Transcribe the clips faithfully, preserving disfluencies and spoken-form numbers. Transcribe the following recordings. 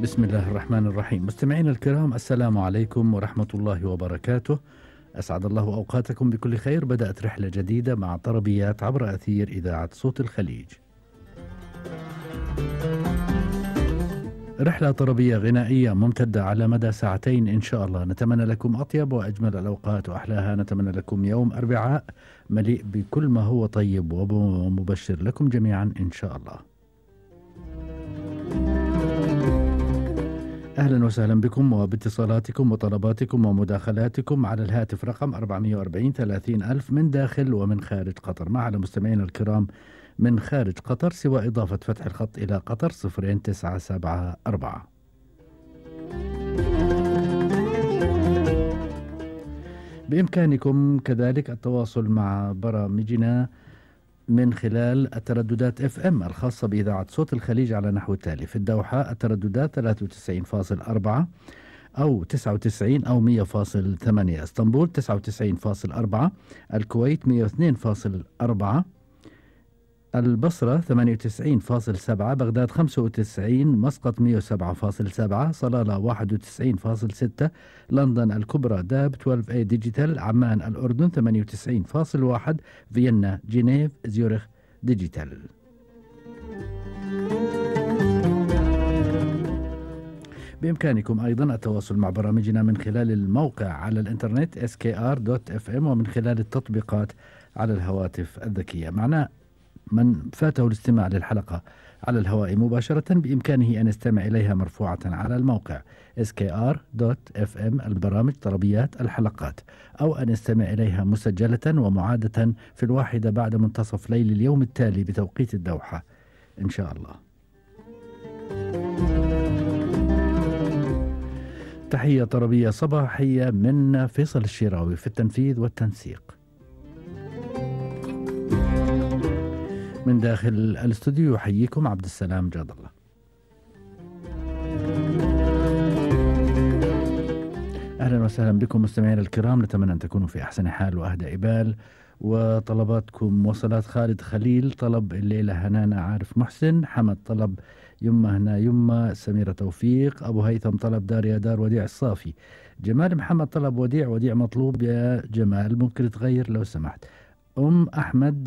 بسم الله الرحمن الرحيم. مستمعينا الكرام، السلام عليكم ورحمة الله وبركاته. أسعد الله أوقاتكم بكل خير. بدأت رحلة جديدة مع طربيات عبر أثير إذاعة صوت الخليج. رحلة طربية غنائية ممتدة على مدى ساعتين إن شاء الله. نتمنى لكم أطيب وأجمل الأوقات وأحلاها. نتمنى لكم يوم أربعاء مليء بكل ما هو طيب ومبشر لكم جميعا إن شاء الله. أهلا وسهلا بكم وباتصالاتكم وطلباتكم ومداخلاتكم على الهاتف رقم أربعمئة وأربعين ثلاثين ألف من داخل ومن خارج قطر. مع مستمعينا الكرام من خارج قطر سوى إضافة فتح الخط إلى قطر صفرين تسعة سبعة أربعة. بإمكانكم كذلك التواصل مع برامجنا من خلال الترددات اف ام الخاصة بإذاعة صوت الخليج على نحو التالي: في الدوحة الترددات ثلاثة وتسعين فاصلة أربعة أو تسعة وتسعين أو مئة فاصلة ثمانية، اسطنبول تسعة وتسعين فاصلة أربعة، الكويت مئة واثنين فاصلة أربعة، البصرة ثمانية وتسعين فاصلة سبعة، بغداد خمسة وتسعين، مسقط مئة وسبعة فاصلة سبعة، صلالة واحد وتسعين فاصلة ستة، لندن الكبرى داب اثنا عشر اي ديجيتال، عمان الأردن ثمانية وتسعين فاصلة واحد، فيينا جنيف زيورخ ديجيتال. بإمكانكم أيضا التواصل مع برامجنا من خلال الموقع على الإنترنت إس كي آر دوت إف إم ومن خلال التطبيقات على الهواتف الذكية. معنا من فاته الاستماع للحلقة على الهواء مباشرة بإمكانه أن يستمع إليها مرفوعة على الموقع إس كي آر دوت إف إم البرامج طربيات الحلقات، أو أن يستمع إليها مسجلة ومعادة في الواحدة بعد منتصف ليل اليوم التالي بتوقيت الدوحة إن شاء الله. تحية طربية صباحية من فيصل الشراوي في التنفيذ والتنسيق. من داخل الاستوديو يحييكم عبد السلام جاد الله. أهلا وسهلا بكم مستمعينا الكرام. نتمنى أن تكونوا في أحسن حال وأهدى إبال. وطلباتكم وصلات: خالد خليل طلب الليلة هنانا عارف محسن، حمد طلب يمه هنا يمه، سميرة توفيق، أبو هيثم طلب دار يا دار وديع الصافي، جمال محمد طلب وديع وديع مطلوب يا جمال، ممكن تغير لو سمحت. أم أحمد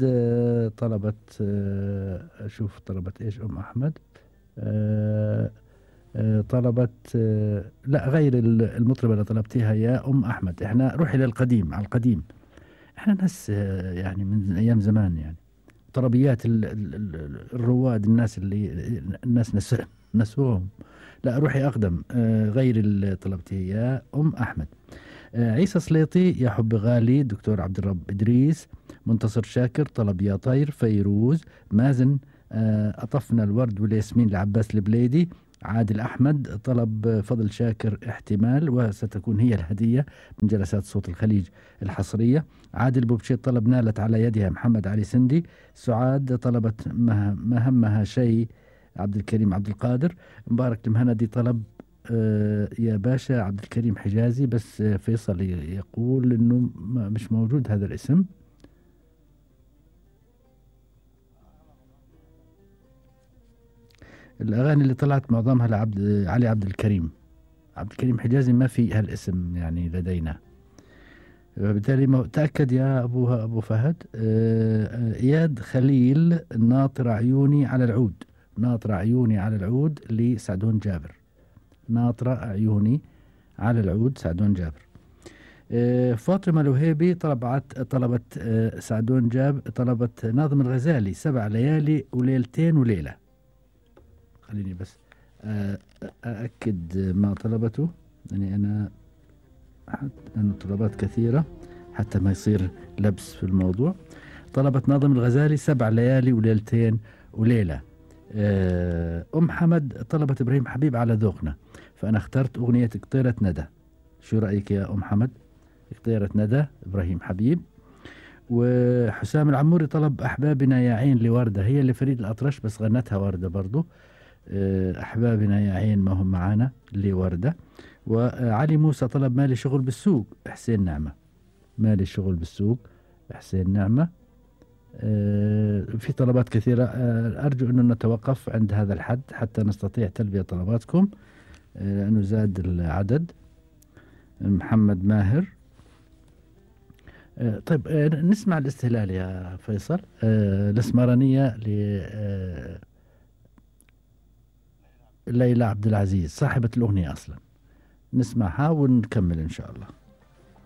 طلبت، أشوف طلبت إيش أم أحمد، طلبت لا غير المطربة اللي طلبتيها يا أم أحمد. إحنا روحي للقديم على القديم، إحنا ناس يعني من أيام زمان، يعني طربيات الرواد، الناس اللي الناس نس نسوهم. لا روحي أقدم، غير اللي طلبتيه يا أم أحمد. عيسى سليطي يا حب غالي، دكتور عبد الرب إدريس، منتصر شاكر طلب يا طير، فيروز، مازن أطفنا الورد والياسمين لعباس البليدي، عادل أحمد طلب فضل شاكر احتمال وستكون هي الهدية من جلسات صوت الخليج الحصرية، عادل بوبشيت طلب نالت على يدها محمد علي سندي، سعاد طلبت ما همها شيء عبد الكريم عبد القادر، مبارك المهندي طلب آه يا باشا عبد الكريم حجازي، بس فيصل يقول انه مش موجود هذا الاسم. الاغاني اللي طلعت معظمها لعبد علي عبد الكريم، عبد الكريم حجازي ما في هالاسم يعني لدينا، وبالتالي تأكد يا ابو ابو فهد. آه اياد خليل ناطر عيوني على العود، ناطر عيوني على العود لسعدون جابر، ناطرة عيوني على العود سعدون جابر. آه فاطمة الوهيبي طلبت طلبت آه سعدون جاب طلبت ناظم الغزالي سبع ليالي وليلتين وليلة. خليني بس آه أأكد ما طلبته، يعني أنا لأن طلبات كثيرة حتى ما يصير لبس في الموضوع. طلبت ناظم الغزالي سبع ليالي وليلتين وليلة. أم حمد طلبت إبراهيم حبيب على ذوقنا، فأنا اخترت أغنية قطيرة ندى. شو رأيك يا أم حمد؟ قطيرة ندى إبراهيم حبيب. وحسام العموري طلب أحبابنا يا عين لوردة، هي اللي فريد الأطرش بس غنتها وردة برضو. أحبابنا يا عين ما هم معانا لوردة. وعلي موسى طلب مالي شغل بالسوق حسين نعمة، مالي شغل بالسوق حسين نعمة. في طلبات كثيرة، أرجو أن نتوقف عند هذا الحد حتى نستطيع تلبية طلباتكم. آه، لأنه زاد العدد. محمد ماهر. آه، طيب آه، نسمع الاستهلال يا فيصل. آه، الاسمرانية ل آه، ليلى عبد العزيز صاحبة الأغنية أصلا. نسمعها ونكمل إن شاء الله.